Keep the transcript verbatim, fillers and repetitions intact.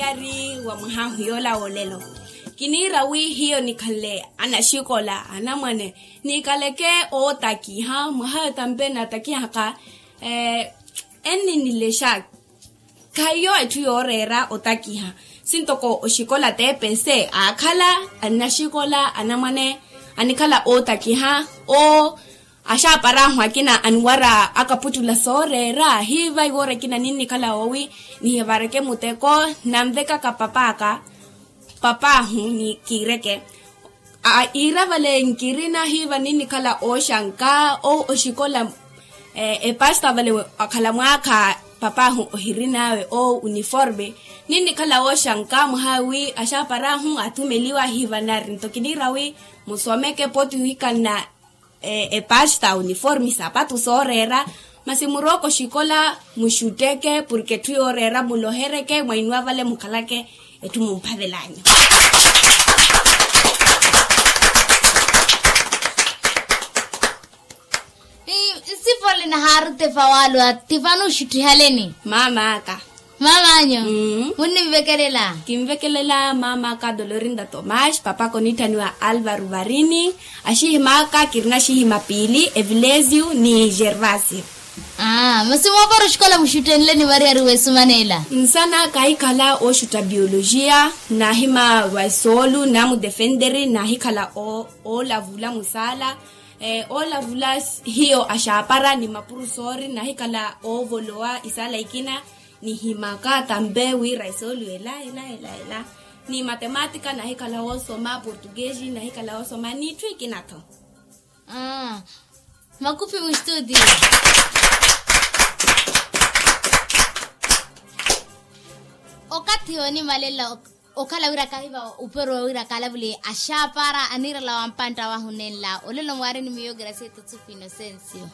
Ari wa mwaha ahu yoola woolelo. Kiniira wi hiyo nikhanle anaxikola anamwane, nikaleke ootakiha mwaha tampe natakihaka. Enninilexaki. Khahiyo etthu yooreera otakiha. Sintoko oxikola tepese aakhala anaxikola anamwane, anikhala ootakiha. Oo axaaparahu akina aniwara akaputtula sooreera hiiva iwoora ekina ninnikhala oowi nihivareke muteko. Nanvekaka papaaka papahu ni kiireke. Iira vale nkirina hiiva ninnikhala ooxanka. Oxikola epasta vale akhala mwaakha papahu ohirin'awe o uniforme. Ninnikhala ooxanka mwaha wi axaaparahu athumeliwa hiiva nari nto kiniira wi musomeke pooti wikanna epasta uniforme sapatu sooreera. Masi murooka oxikola muxutteke porke etthu yooreera mulohereke mwainwa vale mukhalake etthu mumphavel'anyu. Nsipole nahaari tefa waalwa tifano oxuttihaleni. Maamaaka. Mamanyu. Munnimvekelela? Kimvekelela maamaaka dolorinda tomas papaka onittaniwa alvaro varini. Axihimaka kirina axihima piili evilesio ni gervasio. Masi moopara oxikola muxuttenleni variyari wesumanela? Nsana kahikhala oxutta biologia. Nahima vasoolu namudefenderi nahikhala oolavula musaala. Oolavula hiyo axaapara ni mapurusori nahikhala oovolowa isaala ikina. Nihimaka tampe wira isoolu ela ela ela ela. Ni matematika nahikhala woosoma portuguesi nahikhala woosoma n'itthu ikina-tho. Makupi mustuti. Okathi yoonimalela okhala wira kahiva upero wa wira kalavule axaapara anirala wa mpantta wahu nenla olelo mwaari ni miyo gracieta tsuku inocencio.